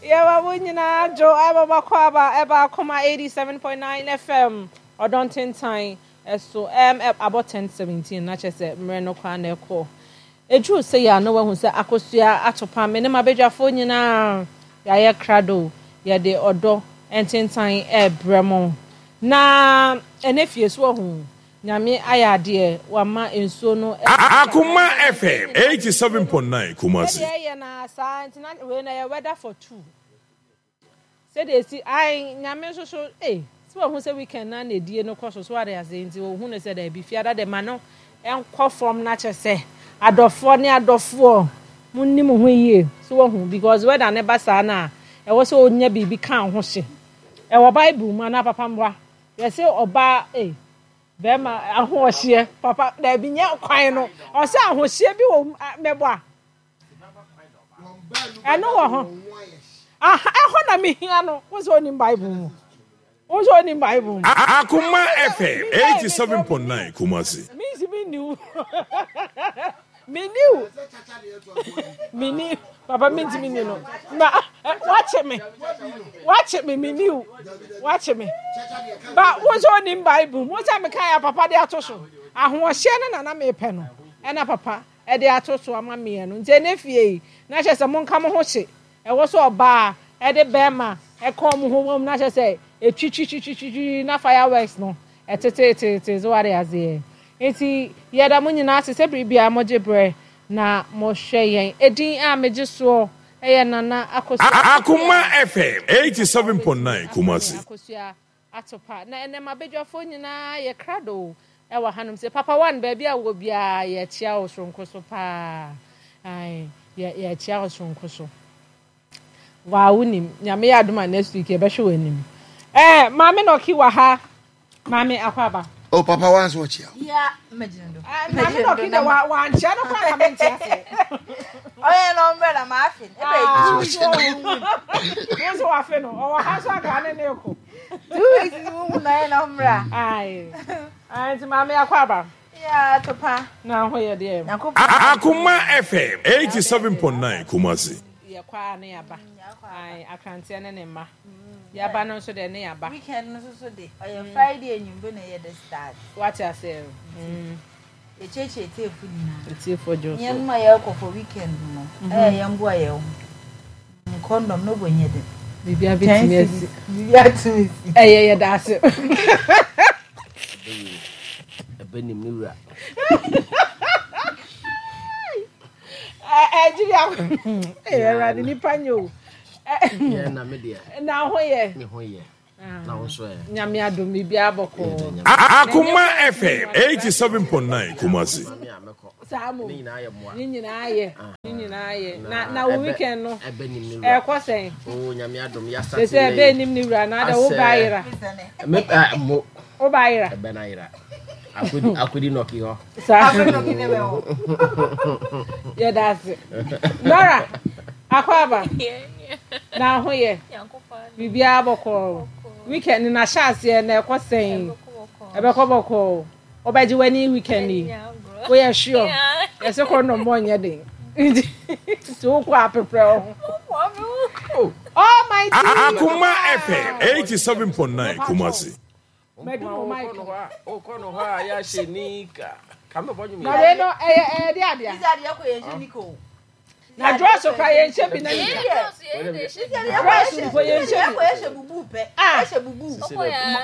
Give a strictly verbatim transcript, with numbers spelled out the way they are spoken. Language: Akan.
Yɛma mo nyinaa dwo ɛma makɔ aba ɛba Akoma eighty-seven point nine F M ɔdɔ ntentan ɛso ɛm abɔ ten seventeen na kyerɛ sɛ mmerɛ no kwan na ɛkɔ eduru sɛ yɛ ano wahu sɛ Akosua Atopa me ne m'abadwafoɔ nyinaa yɛayɛ krado, yɛde ɔdɔ ntentan ɛɛbrɛ mo na ɛnɛ fie so ɔho Nyame ayɛ adeɛ wama nsuo no. Akoma F M eighty-seven point nine Kumasi. Sɛdeɛ ɛyɛ na saa nti na wei na yɛ weather for two, sɛdeɛ esi ayi Nyame nso so ee si wɔn ho sɛ weekend na na edie no kɔ so so ade ase nti ohun no sɛ dɛbi fiada de ma no ɛnkɔ fam na kyɛ sɛ adɔfoɔ ne adɔfoɔ mo ni mo ho yie so wɔn ho because weather ne ba saa na ɛwɔ sɛ onya biribi ka ho hye. Ɛwɔ Bible mu anaa papa mboa yɛsɛ ɔbaa ee bɛrima ahoɔhyeɛ papa dɛbi nyɛ kwan no ɔsɛ ahohyeɛ bi wɔ mɛbɔ a ɛno wɔ ho aha ɛhɔ na mehia no wo sɛ onim Bible mu, wo sɛ onim Bible mu. Akoma F M eighty-seven point nine Kumasi. Mi si mi niw mi niw mi ni papa mi ntumi ni no na wakye me wakye me mi niw wakye me ba. Wo sɛ onim Bible mu, wo sɛ meka yɛ papa de ato so ahoɔhyɛ no nana mepɛ no ɛna papa ɛde ato so ama mmiɛ no nti ɛnɛ fie yi na kyerɛ sɛ monka mo ho hye. Ɛwɔ sɛ ɔbaa ɛde bɛrima ɛka ɔmo ho wɔm na kyerɛ sɛ etwitwitwitwi na fireworks no ɛtetetete so wade aseɛ. Nti yɛda mo nyinaa ase sɛ biribiara mogye berɛ na mohwɛ yɛn. Edin a megye soɔ ɛyɛ Nana Akosua. Akoma F M eighty-seven point nine Kumasi. Akosua Atopa na ɛnɛ mabadwafoɔ nyinaa yɛ krado ɛwɔ hanom sɛ Papa One baabi a wɔ biara yɛkyia wo soronko so paa. Ae, yɛ yɛkyia wo soronko so waa wonim Nyame yɛ adom a next week yɛbɛhwɛ w'anim. Ɛɛ Maame Nɔki wɔ ha. Maame, akɔ aba. Oh, Papa One so ɔkyia. Ya, megyina do. Maame Nɔki de wa wankyia no kora ka mente ase. Ɔyɛ no ɔmbrɛ na maafe. Ebe Ah, two weeks wo nso wafe no ɔwɔ ha so aka ne ne kɔ. Two weeks ni mu na ɔyɛ no ɔmbrɛ. Ae. Ae, nti maame, akɔ aba. Ya, Topa. Na ho yɛ deɛ? Nyankopɔn. Akoma F M eighty-seven point nine Kumasi. Yɛkɔ a ne yaba. Ae, akranteɛ ne ne mma yaba no nso deɛ ne yaba. Weekend no nso so de ɔyɛ Friday enyimbo na yɛ de start. Wate aseɛ mm. Yɛkyerɛkyerɛ tiefo nyinaa. Etiefo dwo so. Yɛn mu a yɛrekɔ for weekend no, ɛyɛ yɛn boa yɛn ho. Condom no bɔ nyɛ den. Biribia bɛtumi asi. Biribia tumi si. Ɛyɛ yɛda ase. Ɛbɛ nim ne wura. Ɛgyiri ɛyɛ Awurade nipa nyɛ o. Yɛ na me deɛ. Na ho yɛ? Me ho yɛ. Na wo nso ɛ? Nyame adom, biribiara bɔkɔɔ. Akoma F M eighty-seven point nine Kumasi. Maame a mɛkɔ. Saa mo. Ne nyinaa yɛ mmoa. Ne nyinaa yɛ ne nyinaa yɛ na na wo weekend no ɛbɛ nim ne wura. Ɛkɔ sɛn? O Nyame adom, yɛasate. Sɛ sɛ ɛbɛ nim ne wura na adɛ wo ba ayera. Me ɛ mo. Wo ba ayera. Ɛbɛ na ayera. Akodi akodi nɔki hɔ. Saa yɛda ase. Nora, akɔ aba. Na ho yɛ? Biribiara bɔkɔɔ? Weekend na hyɛ aseɛ na ɛkɔ sɛn? Ɛbɛkɔ bɔkɔɔ? Wobɛgye w'ani weekend yi, woyɛ sure? Yɛsɛ kɔ nnɔmmɔ nyɛ den nti wokɔ apeprɛ wo ho. Almighty. Akoma F M eighty-seven point nine Kumasi. Madu mo mic no. Wokɔ no hɔ a yɛahyɛ nika. Ka mebɔ nwom. Na wei no ɛyɛ ɛyɛ de adea. Sisi adeɛ kɔ yɛn hyɛ nika o. Na dress kora yɛnhyɛ bi na nika. Dress mpo yɛnhyɛ bi. Yɛ hyɛ bubu pɛ. Ah. Yɛ hyɛ bubu.